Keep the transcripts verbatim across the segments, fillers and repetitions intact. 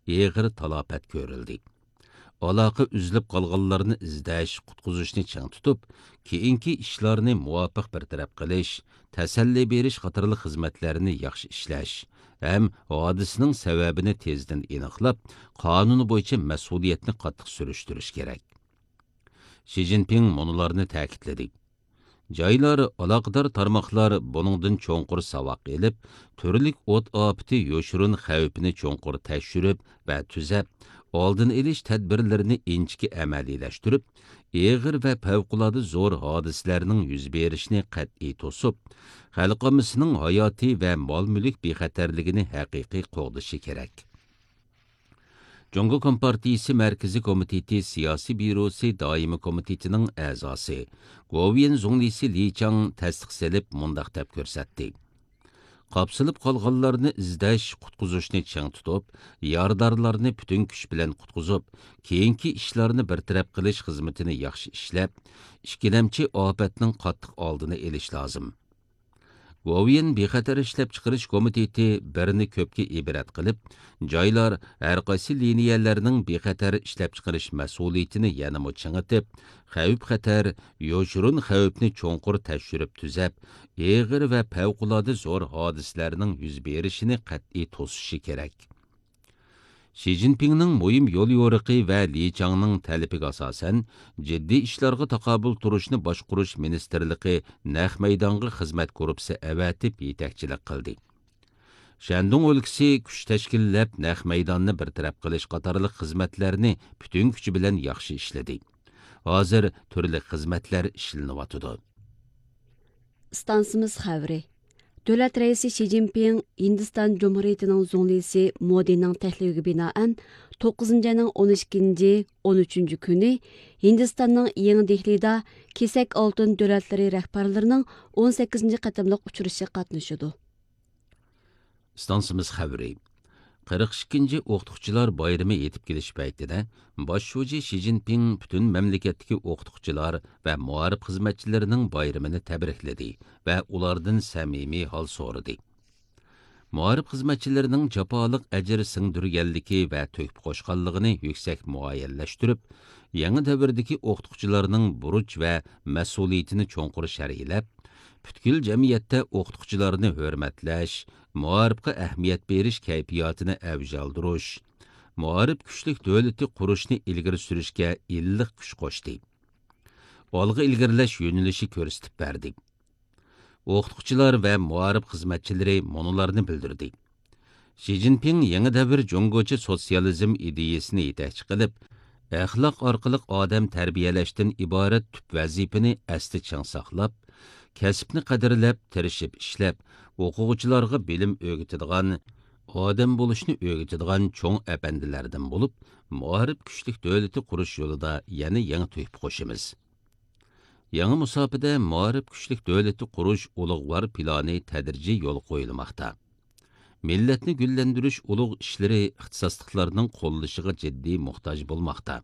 ئېغىر تالاپەت كۆرۈلدى. ئالاقە ئۈزۈلۈپ قالغانلارنى ئىزدەش، قۇتقۇزۇشنى چىڭ تۇتۇپ، كېيىنكى ئىشلارنى مۇۋاپىق بىر تەرەپ قىلىش، تەسەللى بېرىش قاتارلىق خىزمەتلەرنى ياخشى ئىشلەش ھەم ھادىسىنىڭ سەۋەبىنى تېزدىن ئېنىقلاپ، قانۇن بويىچە مەسئۇلىيەتنى قاتتىق سۈرۈشتۈرۈش كېرەك. شى جىنپىڭ مۇنۇلارنى تەكىتلىدى: جايلار، ئالاقىدار تارماقلار بۇنىڭدىن چوڭقۇر ساۋاق ئېلىپ، تۈرلۈك ئوت ئاپىتى يوشۇرۇن خەۋپىنى چوڭقۇر تەكشۈرۈپ ۋە تۈزەپ، ئالدىنى ئېلىش تەدبىرلىرىنى ئىنچىكە ئەمەلىيلەشتۈرۈپ، ئېغىر ۋە پەۋقۇلئاددە زور ھادىسىلەرنىڭ يۈز بېرىشىنى قەتئىي توسۇپ، خەلق ئاممىسىنىڭ ھاياتى ۋە مال-مۈلۈك بىخەتەرلىكىنى ھەقىقىي قوغدىشى كېرەك. جۇڭگو كومپارتىيىسى مەركىزىي كومىتېتى سىياسىي بيۇروسى دائىمىي كومىتېتىنىڭ ئەزاسى، گوۋۇيۈەن زۇڭلىسى لى چاڭ تەستىق سېلىپ، مۇنداق دەپ كۆرسەتتى: قاپسىلىپ قالغانلارنى ئىزدەش، قۇتقۇزۇشنى چىڭ تۇتۇپ، يارىدارلارنى پۈتۈن كۈچ بىلەن قۇتقۇزۇپ، كېيىنكى ئىشلارنى بىر تەرەپ قىلىش خىزمىتىنى ياخشى ئىشلەپ، ئىككىلەمچى ئاپەتنىڭ قاتتىق ئالدىنى ئېلىش لازىم. گوۋۇيۈەن بىخەتەر ئىشلەپچىقىرىش كومىتېتى بىرنى كۆپكە ئىبرەت قىلىپ، جايلار ھەرقايسى لىنىيەلەرنىڭ بىخەتەر ئىشلەپچىقىرىش مەسئۇلىيىتىنى يەنىمۇ چىڭىتىپ، خەۋپ-خەتەر، يوشۇرۇن خەۋپنى چوڭقۇر تەكشۈرۈپ تۈزەپ، ئېغىر ۋە پەۋقۇلئاددە زور ھادىسىلەرنىڭ يۈز بېرىشىنى قەتئىي توسۇشى كېرەك. شى جىنپىڭنىڭ مۇھىم يوليورۇقى ۋە لى چاڭنىڭ تەلىپىگە ئاساسەن، جىددىي ئىشلارغا تاقابىل تۇرۇشنى باشقۇرۇش مىنىستىرلىقى نەق مەيدانغا خىزمەت گۇرۇپپىسى ئەۋەتىپ يېتەكچىلىك قىلدى. شەندۇڭ ئۆلكىسى كۈچ تەشكىللەپ، نەق مەيداننى بىر تەرەپ قىلىش قاتارلىق خىزمەتلەرنى پۈتۈن كۈچى بىلەن ياخشى ئىشلىدى. ھازىر تۈرلۈك خىزمەتلەر ئىشلىنىۋاتىدۇ. ئىستانسىمىز خەۋىرى. دۆلەت رەئىسى شى جىنپىڭ ھىندىستان جۇمھۇرىيىتىنىڭ زۇڭلىسى مودىنىڭ تەكلىپىگە بىنائەن، توققۇزىنچى ئاينىڭ ئون ئىككىنچى، ئون ئۈچىنچى كۈنى ھىندىستاننىڭ يېڭى دېھلىدا كېسەك ئالتۇن دۆلەتلىرى رەھبەرلىرىنىڭ ئون سەككىزىنچى قېتىملىق ئۇچرىشىشىغا قاتنىشىدۇ. ئىستانسىمىز خەۋىرى. قىرىق ئىككىنچى ئوقۇتقۇچىلار بايرىمى يېتىپ كېلىش پەيتىدە، باش شۇجى شى جىنپىڭ پۈتۈن مەملىكەتتىكى ئوقۇتقۇچىلار ۋە مائارىپ خىزمەتچىلىرىنىڭ بايرىمىنى تەبرىكلىدى ۋە ئۇلاردىن سەمىمىي ھال سورىدى. مائارىپ خىزمەتچىلىرىنىڭ جاپالىق ئەجىر سىڭدۈرگەنلىكى ۋە تۆھپە قوشقانلىقىنى يۈكسەك مۇئەييەنلەشتۈرۈپ، يېڭى دەۋردىكى ئوقۇتقۇچىلارنىڭ بۇرچ ۋە مەسئۇلىيىتىنى چوڭقۇر شەرھلەپ، پۈتكۈل جەمئىيەتتە ئوقۇتقۇچىلارنى ھۆرمەتلەش، مائارىپقا ئەھمىيەت بېرىش كەيپىياتىنى ئەۋج ئالدۇرۇش، مائارىپ كۈچلۈك دۆلىتى قۇرۇشنى ئىلگىرى سۈرۈشكە ئىللىق كۈچ قوشتى. ئالغا ئىلگىرىلەش يۆنىلىشى كۆرسىتىپ بەردى. ئوقۇتقۇچىلار ۋە مائارىپ خىزمەتچىلىرى مۇنۇلارنى بىلدۈردى. شى جىنپىڭ يېڭى دەۋر جۇڭگوچە سوتسىيالىزم ئىدىيىسىنى يېتەكچى قىلىپ، ئەخلاق ئارقىلىق ئادەم تەربىيەلەشتىن ئىبارەت تۈپ ۋەزىپىنى ئەستە چىڭ ساقلاپ، كەسىپنى قەدىرلەپ، تىرىشىپ ئىشلەپ، ئوقۇغۇچىلارغا بىلىم ئۆگىتىدىغان، ئادەم بولۇشنى ئۆگىتىدىغان چوڭ ئەپەندىلەردىن بولۇپ، مائارىپ كۈچلۈك دۆلىتى قۇرۇش يولىدا يەنە يېڭى تۆھپە قوشىمىز. يېڭى مۇساپىدە مائارىپ كۈچلۈك دۆلىتى قۇرۇش ئۇلۇغۋار پىلانى تەدرىجىي يولغا قويۇلماقتا. مىللەتنى گۈللەندۈرۈش ئۇلۇغ ئىشلىرى ئىختىساسلىقلارنىڭ قوللىشىغا جىددىي موھتاج بولماقتا.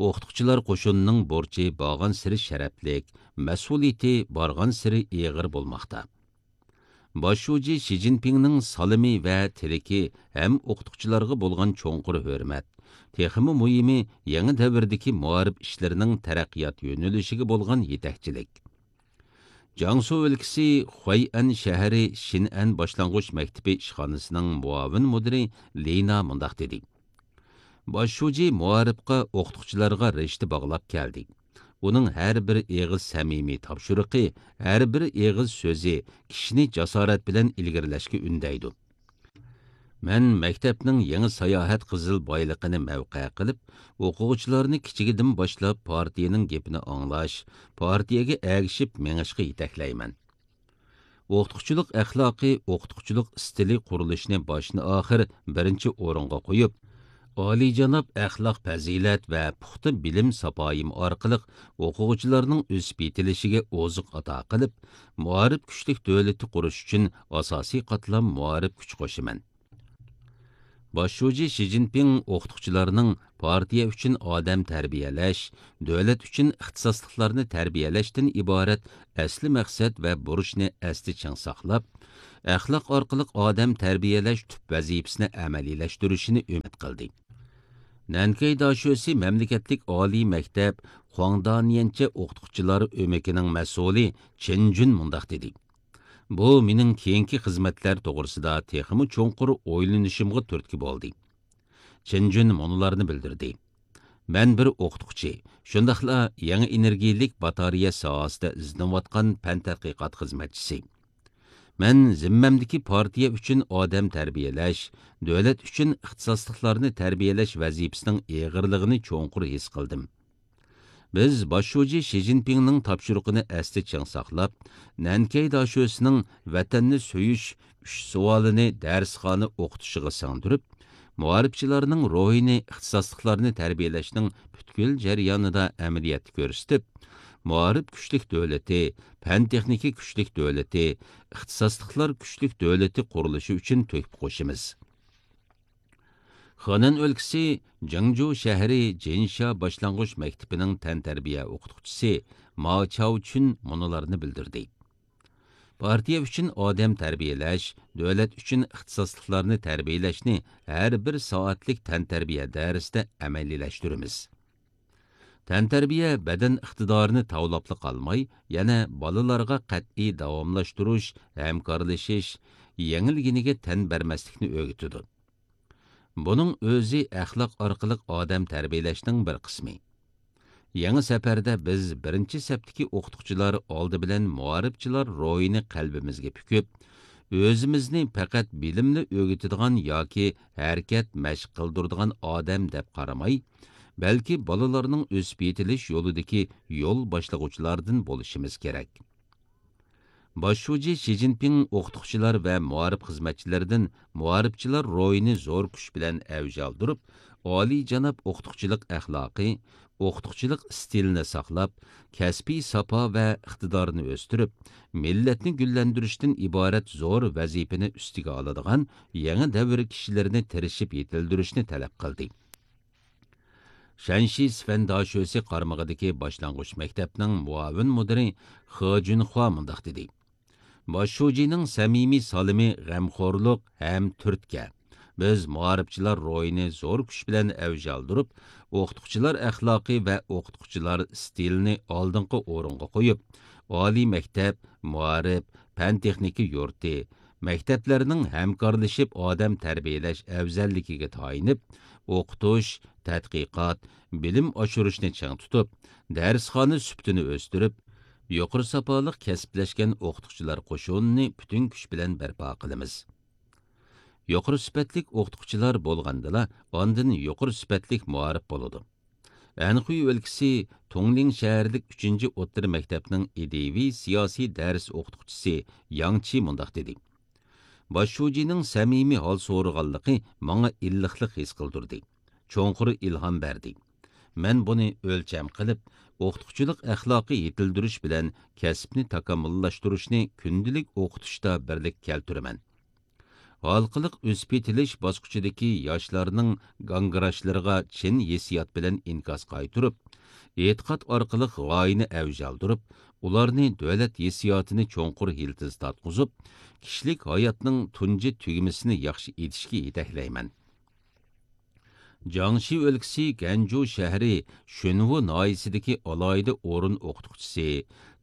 ئوقۇتقۇچىلار قوشۇنىنىڭ بۇرچى بارغانسېرى شەرەپلىك، مەسئۇلىيىتى بارغانسېرى ئېغىر بولماقتا. باش شۇجى شى جىنپىڭنىڭ سالىمى ۋە تىلىكى ھەم ئوقۇتقۇچىلارغا بولغان چوڭقۇر ھۆرمەت، تېخىمۇ مۇھىمى، يېڭى دەۋردىكى مائارىپ ئىشلىرىنىڭ تەرەققىيات يۆنىلىشىگە بولغان يېتەكچىلىك. جياڭسۇ ئۆلكىسى خۇەيئەن شەھىرى شىنئەن باشلانغۇچ مەكتىپى ئىشخانىسىنىڭ مۇئاۋىن مۇدىرى لىنا مۇنداق دېدى: باش شۇجى مائارىپقا، ئوقۇتقۇچىلارغا رىشتە باغلاپ كەلدى. ئۇنىڭ ھەر بىر ئېغىز سەمىمىي تاپشۇرۇقى، ھەر بىر ئېغىز سۆزى كىشىنى جاسارەت بىلەن ئىلگىرىلەشكە ئۈندەيدۇ. مەن مەكتەپنىڭ يېڭى ساياھەت قىزىل بايلىقىنى مەۋقە قىلىپ، ئوقۇغۇچىلارنى كىچىكىدىن باشلاپ پارتىيەنىڭ گېپىنى ئاڭلاش، پارتىيەگە ئەگىشىپ مېڭىشقا يېتەكلەيمەن. ئوقۇتقۇچىلىق ئەخلاقى، ئوقۇتقۇچىلىق ئىستىلى قۇرۇلۇشىنى باشتىن-ئاخىر بىرىنچى ئورۇنغا قويۇپ، ئالىيجاناب ئەخلاق-پەزىلەت ۋە پۇختا بىلىم ساپايىم ئارقىلىق ئوقۇغۇچىلارنىڭ ئۆسۈپ يېتىلىشىگە ئوزۇق ئاتا قىلىپ، مائارىپ كۈچلۈك دۆلىتى قۇرۇش ئۈچۈن ئاساسىي قاتلام مائارىپ كۈچ قوشىمەن. باش شۇجى شى جىنپىڭ ئوقۇتقۇچىلارنىڭ پارتىيە ئۈچۈن ئادەم تەربىيەلەش، دۆلەت ئۈچۈن ئىختىساسلىقلارنى تەربىيەلەشتىن ئىبارەت ئەسلى مەقسەت ۋە بۇرچنى ئەستە چىڭ ساقلاپ، ئەخلاق ئارقىلىق ئادەم تەربىيەلەش تۈپ ۋەزىپىسىنى ئەمەلىيلەشتۈرۈشىنى ئۈمىد قىلدى. نەنكەي داشۆسى مەملىكەتلىك ئالىي مەكتەپ خۇاڭدانيەنچە ئوقۇتقۇچىلار ئۆمىكىنىڭ مەسئۇلى چېن جۈن مۇنداق دېدى: بۇ مېنىڭ كېيىنكى خىزمەتلەر توغرىسىدا تېخىمۇ چوڭقۇر ئويلىنىشىمغا تۈرتكە بولدى. چېن جۈن مۇنۇلارنى بىلدۈردى: مەن بىر ئوقۇتقۇچى، شۇنداقلا يېڭى ئېنېرگىيەلىك باتارېيە ساھەسىدە ئىزدىنىۋاتقان پەن تەتقىقات خىزمەتچىسى. مەن زىممەمدىكى پارتىيە ئۈچۈن ئادەم تەربىيەلەش، دۆلەت ئۈچۈن ئىختىساسلىقلارنى تەربىيەلەش ۋەزىپىسىنىڭ ئېغىرلىقىنى چوڭقۇر ھېس قىلدىم. بىز باش شۇجى شى جىنپىڭنىڭ تاپشۇرۇقىنى ئەستە چىڭ ساقلاپ، نەنكەي داشۆسىنىڭ ۋەتەننى سۆيۈش ئۈچ سوئالىنى دەرسخانا ئوقۇتۇشىغا سىڭدۈرۈپ، مائارىپچىلارنىڭ روھىنى ئىختىساسلىقلارنى تەربىيەلەشنىڭ پۈتكۈل جەريانىدا ئەمەلىيەتتە كۆرسىتىپ، مائارىپ كۈچلۈك دۆلىتى، پەن-تېخنىكا كۈچلۈك دۆلىتى، ئىختىساسلىقلار كۈچلۈك دۆلىتى قۇرۇلۇشى ئۈچۈن تۆھپە قوشىمىز. خېنەن ئۆلكىسى جېڭجۇ شەھىرى جىنشا باشلانغۇچ مەكتىپىنىڭ تەنتەربىيە ئوقۇتقۇچىسى ما چاۋچۈن مۇنۇلارنى بىلدۈردى: پارتىيە ئۈچۈن ئادەم تەربىيەلەش، دۆلەت ئۈچۈن ئىختىساسلىقلارنى تەربىيەلەشنى ھەر بىر سائەتلىك تەنتەربىيە دەرسىدە ئەمەلىيلەشتۈرىمىز. تەنتەربىيە بەدەن ئىقتىدارىنى تاۋلاپلا قالماي، يەنە بالىلارغا قەتئىي داۋاملاشتۇرۇش، ھەمكارلىشىش، يېڭىلگىنىگە تەن بەرمەسلىكنى ئۆگىتىدۇ. بۇنىڭ ئۆزى ئەخلاق ئارقىلىق ئادەم تەربىيەلەشنىڭ بىر قىسمى. يېڭى سەپەردە بىز بىرىنچى سەپتىكى ئوقۇتقۇچىلار ئالدى بىلەن مائارىپچىلار روھىنى قەلبىمىزگە پۈكۈپ، ئۆزىمىزنى پەقەت بىلىملا ئۆگىتىدىغان ياكى ھەرىكەت مەشىق قىلدۇرىدىغان ئادەم دەپ قارىماي، بەلكى بالىلارنىڭ ئۆسۈپ يېتىلىش يولىدىكى يول باشلىغۇچىلاردىن بولۇشىمىز كېرەك. باش شۇجى شى جىنپىڭ ئوقۇتقۇچىلار ۋە مائارىپ خىزمەتچىلىرىدىن مائارىپچىلار روھىنى زور كۈچ بىلەن ئەۋج ئالدۇرۇپ، ئالىيجاناب ئوقۇتقۇچىلىق ئەخلاقى، ئوقۇتقۇچىلىق ئىستىلىنى ساقلاپ، كەسپىي ساپا ۋە ئىقتىدارنى ئۆستۈرۈپ، مىللەتنى گۈللەندۈرۈشتىن ئىبارەت زور ۋەزىپىنى ئۈستىگە ئالىدىغان يېڭى دەۋر كىشىلىرىنى تىرىشىپ يېتىلدۈرۈشنى تەلەپ قىلدى. شەنشى سىفەن داشۆسى قارمىقىدىكى باشلانغۇچ مەكتەپنىڭ مۇئاۋىن مۇدىرى خې جۈنخۇا مۇنداق دېدى: باش شۇجىنىڭ سەمىمىي سالىمى غەمخورلۇق ھەم تۈرتكە. بىز مائارىپچىلار روھىنى زور كۈچ بىلەن ئەۋج ئالدۇرۇپ، ئوقۇتقۇچىلار ئەخلاقى ۋە ئوقۇتقۇچىلار ئىستىلىنى ئالدىنقى ئورۇنغا قويۇپ، ئالىي مەكتەپ، مائارىپ، پەن-تېخنىكا يۇرتى، مەكتەپلەرنىڭ ھەمكارلىشىپ ئادەم تەربىيەلەش ئەۋزەللىكىگە تايىنىپ، ئوقۇتۇش، تەتقىقات، بىلىم ئاشۇرۇشنى چىڭ تۇتۇپ، دەرسخانا سۈپىتىنى ئۆستۈرۈپ، يۇقىرى ساپالىق كەسىپلەشكەن ئوقۇتقۇچىلار قوشۇنىنى پۈتۈن كۈچ بىلەن بەرپا قىلىمىز. يۇقىرى سۈپەتلىك ئوقۇتقۇچىلار بولغاندىلا، ئاندىن يۇقىرى سۈپەتلىك مائارىپ بولىدۇ. ئەنخۇي ئۆلكىسى تۇڭلىڭ شەھەرلىك ئۈچىنچى ئوتتۇرا مەكتەپنىڭ ئىدىيىۋى سىياسىي دەرس ئوقۇتقۇچىسى ياڭ چى مۇنداق دېدى: باش شۇجىنىڭ سەمىمىي ھال سورىغانلىقى ماڭا ئىللىقلىق ھېس قىلدۇردى، چوڭقۇر ئىلھام بەردى. مەن بۇنى ئۆلچەم قىلىپ، ئوقۇتقۇچىلىق ئەخلاقى يېتىلدۈرۈش بىلەن كەسىپنى تاكامۇللاشتۇرۇشنى كۈندىلىك ئوقۇتۇشتا بىرلىككە كەلتۈرىمەن. ھالقىلىق ئۆسۈپ يېتىلىش باسقۇچىدىكى ياشلارنىڭ گاڭگىراشلىرىغا چىن ھېسسىيات بىلەن ئىنكاس قايتۇرۇپ، ئېتىقاد ئارقىلىق غايىنى ئەۋج ئالدۇرۇپ، ئۇلارنى دۆلەت ھېسسىياتىنى چوڭقۇر يىلتىز تارتقۇزۇپ، كىشىلىك ھاياتنىڭ تۇنجى تۈگمىسىنى ياخشى ئېتىشكە يېتەكلەيمەن. جياڭشى ئۆلكىسى گەنجۇ شەھىرى شۈنۋۇ ناھىيەسىدىكى ئالاھىدە ئورۇن ئوقۇتقۇچىسى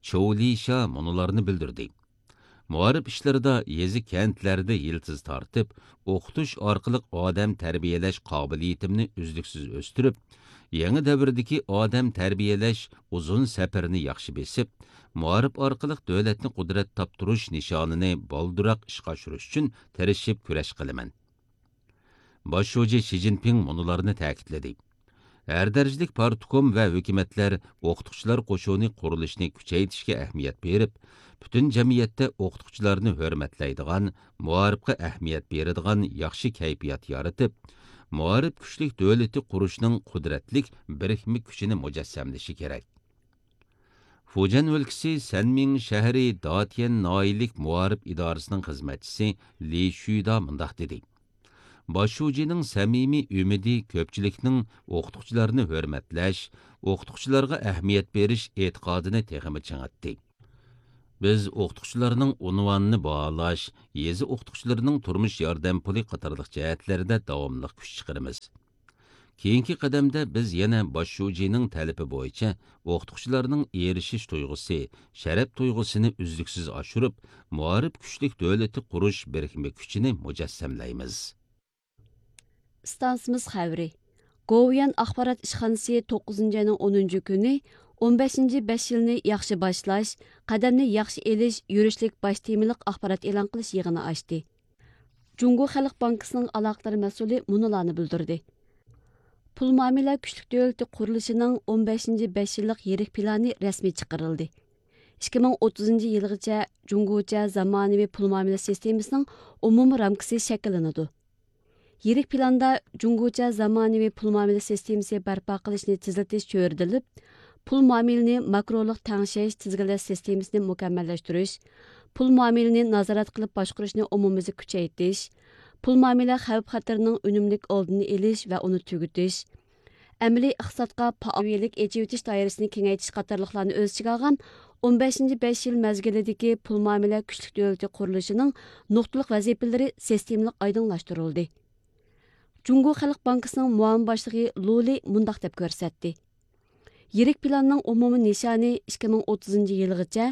چوۋ لىشا مۇنۇلارنى بىلدۈردى: مائارىپ ئىشلىرىدا يېزا، كەنتلەردە يىلتىز تارتىپ، ئوقۇتۇش ئارقىلىق ئادەم تەربىيەلەش قابىلىيىتىمنى ئۈزلۈكسىز ئۆستۈرۈپ، يېڭى دەۋردىكى ئادەم تەربىيەلەش ئۇزۇن سەپىرىنى ياخشى بېسىپ، مائارىپ ئارقىلىق دۆلەتنى قۇدرەت تاپتۇرۇش نىشانىنى بالدۇرراق ئىشقا ئاشۇرۇش ئۈچۈن تىرىشىپ كۈرەش قىلىمەن. باش شۇجى شى جىنپىڭ مۇنۇلارنى تەكىتلىدى: ھەر دەرىجىلىك پارتكوم ۋە ھۆكۈمەتلەر ئوقۇتقۇچىلار قوشۇنى قۇرۇلۇشىنى كۈچەيتىشكە ئەھمىيەت بېرىپ، پۈتۈن جەمئىيەتتە ئوقۇتقۇچىلارنى ھۆرمەتلەيدىغان، مائارىپقا ئەھمىيەت بېرىدىغان ياخشى كەيپىيات يارىتىپ، مائارىپ كۈچلۈك دۆلىتى قۇرۇشنىڭ قۇدرەتلىك بىرىكمە كۈچىنى مۇجەسسەملىشى كېرەك. فۇجيەن ئۆلكىسى سەنمىڭ شەھىرى داتيەن ناھىيەلىك مائارىپ ئىدارىسىنىڭ خىزمەتچىسى لى شۈدا مۇنداق دېدى: باش شۇجىنىڭ سەمىمىي ئۈمىدى كۆپچىلىكنىڭ ئوقۇتقۇچىلارنى ھۆرمەتلەش، ئوقۇتقۇچىلارغا ئەھمىيەت بېرىش ئېتىقادىنى تېخىمۇ چىڭىتتى. بىز ئوقۇتقۇچىلارنىڭ ئۇنۋانىنى باھالاش، يېزا ئوقۇتقۇچىلىرىنىڭ تۇرمۇش ياردەم پۇلى قاتارلىق جەھەتلەردە داۋاملىق كۈچ چىقىرىمىز. كېيىنكى قەدەمدە بىز يەنە باش شۇجىنىڭ تەلىپى بويىچە ئوقۇتقۇچىلارنىڭ ئېرىشىش تۇيغۇسى، شەرەپ تۇيغۇسىنى ئۈزلۈكسىز ئاشۇرۇپ، مائارىپ كۈچلۈك دۆلىتى قۇرۇش بىرىكمە كۈچىنى مۇجەسسەملەيمىز. ئىستانسىمىز خەۋىرى. گوۋۇيۈەن ئاخبارات ئىشخانىسى توققۇزىنچى ئاينىڭ ئونىنچى كۈنى ئون بەشىنچى بەش يىلنى ياخشى باشلاش، قەدەمنى ياخشى ئېلىش يۈرۈشلۈك باش تېمىلىق ئاخبارات ئېلان قىلىش يىغىنى ئاچتى. جۇڭگو خەلق بانكىسىنىڭ ئالاقىدار مەسئۇلى مۇنۇلارنى بىلدۈردى. پۇل مۇئامىلە كۈچلۈك دۆلىتى قۇرۇلۇشىنىڭ ئون بەشىنچى بەش يىللىق يىرىك پىلانى رەسمىي چىقىرىلدى. ئىككى مىڭ ئوتتۇزىنچى يىلغىچە جۇڭگوچە زامانىۋى پۇل مۇئامىلە سىستېمىسىنىڭ ئومۇمىي رامكىسى شەكىللىنىدۇ. يىرىك پىلاندا جۇڭگوچە زامانىۋى پۇل مۇئامىلە سىستېمىسى بەرپا قىلىشنى تېزلىتىش چۆرىدىلىپ، پۇل مۇئامىلىنى ماكرولۇق تەڭشەش، تىزگىنلەش سىستېمىسىنى مۇكەممەللەشتۈرۈش، پۇل مۇئامىلىنى نازارەت قىلىپ باشقۇرۇشنى ئومۇميۈزلۈك كۈچەيتىش، پۇل مۇئامىلە خەۋپ-خەتىرىنىڭ ئۈنۈملۈك ئالدىنى ئېلىش ۋە ئۇنى تۈگىتىش، ئەمەلىي ئىقتىسادقا پائالىيەتلىك ئېچىۋېتىش دائىرىسىنى كېڭەيتىش قاتارلىقلارنى ئۆز ئىچىگە ئالغان ئون بەشىنچى بەش يىل مەزگىلىدىكى پۇل مۇئامىلە كۈچلۈك دۆلىتى قۇرۇلۇشىنىڭ نۇقتىلىق ۋەزىپىلىرى سىستېمىلىق ئايدىڭلاشتۇرۇلدى. جۇڭگو خەلق بانكىسىنىڭ مۇئاۋىن باشلىقى لۇ لى مۇنداق دەپ كۆرسەتتى: يىرىك پىلاننىڭ ئومۇمىي نىشانى ئىككى مىڭ ئوتتۇزىنچى يىلغىچە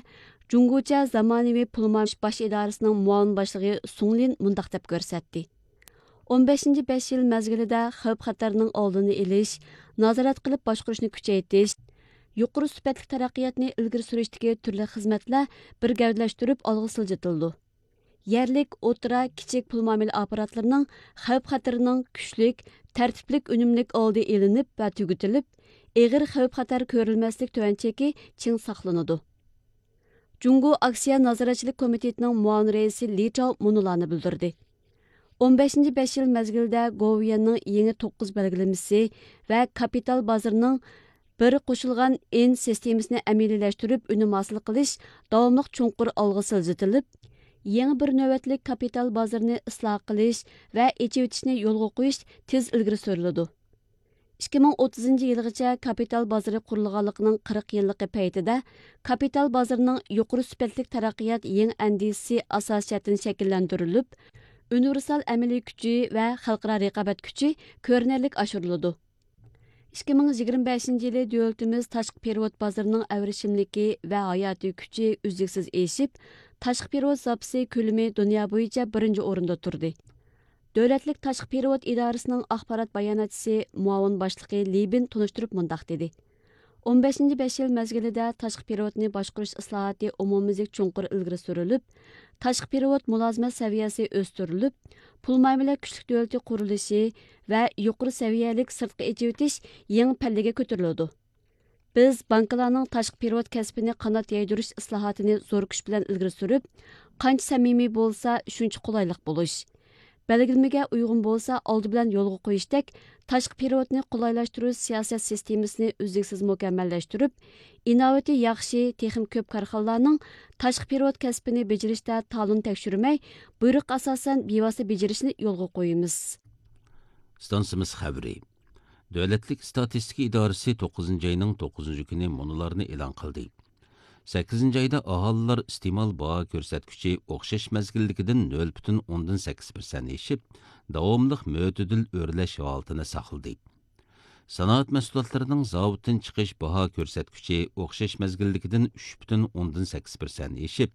جۇڭگوچە زامانىۋى پۇل مۇئامىلە باش ئىدارىسىنىڭ مۇئاۋىن باشلىقى سۇڭ لىن مۇنداق دەپ كۆرسەتتى: ئون بەشىنچى بەش يىل مەزگىلىدە خەۋپ-خەتەرنىڭ ئالدىنى ئېلىش، نازارەت قىلىپ باشقۇرۇشنى كۈچەيتىش، يۇقىرى سۈپەتلىك تەرەققىياتنى ئىلگىرى سۈرۈشتىكى تۈرلۈك خىزمەتلەر بىر گەۋدىلەشتۈرۈپ ئالغا سىلجىتىلىدۇ. يەرلىك، ئوتتۇرا، كىچىك پۇل مۇئامىلە ئاپپاراتلىرىنىڭ خەۋپ-خەتىرىنىڭ كۈچلۈك، تەرتىپلىك، ئۈنۈملۈك ئالدى ئېلىنىپ ۋە تۈگىتىلىپ، ئېغىر خەۋپ-خەتەر كۆرۈلمەسلىك تۆۋەن چېكى چىڭ ساقلىنىدۇ. جۇڭگو ئاكسىيە نازارەتچىلىك كومىتېتىنىڭ مۇئاۋىن رەئىسى لى چاۋ مۇنۇلارنى بىلدۈردى: ئون بەشىنچى بەش يىل مەزگىلىدە گوۋۇيۈەننىڭ يېڭى توققۇز بەلگىلىمىسى ۋە كاپىتال بازىرىنىڭ بىر قوشۇلغان ئىن سىستېمىسىنى ئەمەلىيلەشتۈرۈپ، ئۈنۈم ھاسىل قىلىش داۋاملىق چوڭقۇر ئالغا سىلجىتىلىپ، يېڭى بىر نۆۋەتلىك كاپىتال بازىرىنى ئىسلاھ قىلىش ۋە ئېچىۋېتىشنى يولغا قويۇش تېز ئىلگىرى سۈرۈلىدۇ. ئىككى مىڭ ئوتتۇزىنچى يىلغىچە كاپىتال بازىرى قۇرۇلغانلىقىنىڭ قىرىق يىللىقى پەيتىدە كاپىتال بازىرىنىڭ يۇقىرى سۈپەتلىك تەرەققىيات يېڭى ئەندىزىسى ئاساسىي جەھەتتىن شەكىللەندۈرۈلۈپ، ئۇنىۋېرسال ئەمەلىي كۈچى ۋە خەلقئارا رىقابەت كۈچى كۆرۈنەرلىك ئاشۇرۇلىدۇ. ئىككى مىڭ يىگىرمە بەشىنچى يىلى دۆلىتىمىز تاشقى پېرېۋوت بازىرىنىڭ ئەۋرىشىملىكى ۋە ھاياتىي كۈچى ئۈزلۈكسىز ئېشىپ، تاشقى پېرېۋوت زاپىسى كۆلىمى دۇنيا بويىچە بىرىنچى ئورۇندا تۇردى. دۆلەتلىك تاشقى پېرېۋوت ئىدارىسىنىڭ ئاخبارات باياناتچىسى، مۇئاۋىن باشلىقى لى بىن تونۇشتۇرۇپ مۇنداق دېدى: ئون بەشىنچى بەش يىل مەزگىلىدە تاشقى پېرېۋوتنى باشقۇرۇش ئىسلاھاتى ئومۇميۈزلۈك چوڭقۇر ئىلگىرى سۈرۈلۈپ، تاشقى پېرېۋوت مۇلازىمەت سەۋىيەسى ئۆستۈرۈلۈپ، پۇل مۇئامىلە كۈچلۈك دۆلىتى قۇرۇلۇشى ۋە يۇقىرى سەۋىيەلىك سىرتقا ئېچىۋېتىش يېڭى پەللىگە كۆتۈرۈلىدۇ. بىز بانكىلارنىڭ تاشقى پېرېۋوت كەسپىنى قانات يايدۇرۇش ئىسلاھاتىنى زور كۈچ بىلەن ئىلگىرى سۈرۈپ، قانچە سەمىمىي بولسا، شۇنچە قولايلىق بولۇش، بەلگىلىمىگە ئۇيغۇن بولسا، ئالدى بىلەن يولغا قويۇشتەك تاشقى پېرېۋوتنى قولايلاشتۇرۇش سىياسەت سىستېمىسىنى ئۈزلۈكسىز مۇكەممەللەشتۈرۈپ، ئىناۋىتى ياخشى، تېخىمۇ كۆپ كارخانىلارنىڭ تاشقى پېرېۋوت كەسپىنى بېجىرىشتە تالون تەكشۈرمەي، بۇيرۇققا ئاساسەن بىۋاسىتە بېجىرىشىنى يولغا قويىمىز. ئىستانسىمىز خەۋىرى. دۆلەتلىك ئىستاتىستىكا ئىدارىسى توققۇزىنچى ئاينىڭ توققۇزىنچى كۈنى مۇنۇلارنى ئېلان قىلدى. سەككىزىنچى ئايدا ئاھالىلار ئىستېمال باھا كۆرسەتكۈچى ئوخشاش مەزگىلدىكىدىن نۆل پۈتۈن ئوندىن سەككىز پىرسەنت ئېشىپ، داۋاملىق مۆتىدىل ئۆرلەش ھالىتىنى ساقلىدى. سانائەت مەھسۇلاتلىرىنىڭ زاۋۇتتىن چىقىش باھا كۆرسەتكۈچى ئوخشاش مەزگىلدىكىدىن ئۈچ پۈتۈن ئوندىن سەككىز پىرسەنت ئېشىپ،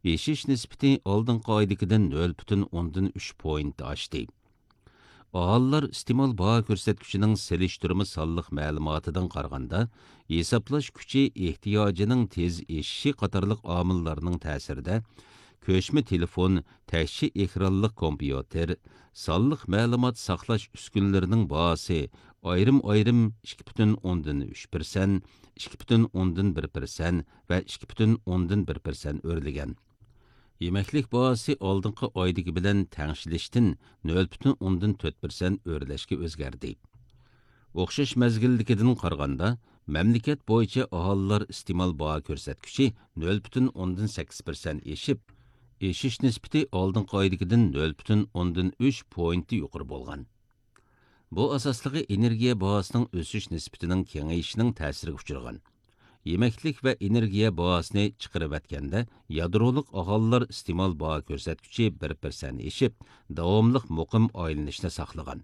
ئېشىش نىسبىتى ئالدىنقى ئايدىكىدىن نۆل پۈتۈن ئوندىن ئۈچ پوينت ئاشتى. ئاھالىلار ئىستېمال باھا كۆرسەتكۈچىنىڭ سېلىشتۇرما سانلىق مەلۇماتىدىن قارىغاندا، ھېسابلاش كۈچى ئېھتىياجىنىڭ تېز ئېشىشى قاتارلىق ئامىللارنىڭ تەسىرىدە، كۆچمە تېلېفون، تەكشى ئېكرانلىق كومپيۇتېر، سانلىق مەلۇمات ساقلاش ئۈسكۈنىلىرىنىڭ باھاسى ئايرىم-ئايرىم ئىككى پۈتۈن ئوندىن ئۈچ پىرسەنت، ئىككى پۈتۈن ئوندىن بىر پىرسەنت ۋە ئىككى پۈتۈن ئوندىن بىر پىرسەنت ئۆرلىگەن. يېمەكلىك باھاسى ئالدىنقى ئايدىكى بىلەن تەڭشىلىشتىن نۆل پۈتۈن ئوندىن تۆت پىرسەنت ئۆرلەشكە ئۆزگەردى. ئوخشاش مەزگىلدىكىدىن قارىغاندا، مەملىكەت بويىچە ئاھالىلار ئىستېمال باھا كۆرسەتكۈچى نۆل پۈتۈن ئوندىن سەككىز پىرسەنت ئېشىپ، ئېشىش نىسبىتى ئالدىنقى ئايدىكىدىن نۆل پۈتۈن ئوندىن ئۈچ پوينت يۇقىرى بولغان. بۇ ئاساسلىقى ئېنېرگىيە باھاسىنىڭ ئۆسۈش نىسبىتىنىڭ كېڭىيىشىنىڭ تەسىرىگە ئۇچرىغان. يېمەكلىك ۋە ئېنېرگىيە باھاسىنى چىقىرىۋەتكەندە، يادرولۇق ئاھالىلەر ئىستېمال باھا كۆرسەتكۈچى بىر پىرسەنت ئېشىپ، داۋاملىق مۇقىم ئايلىنىشنى ساقلىغان.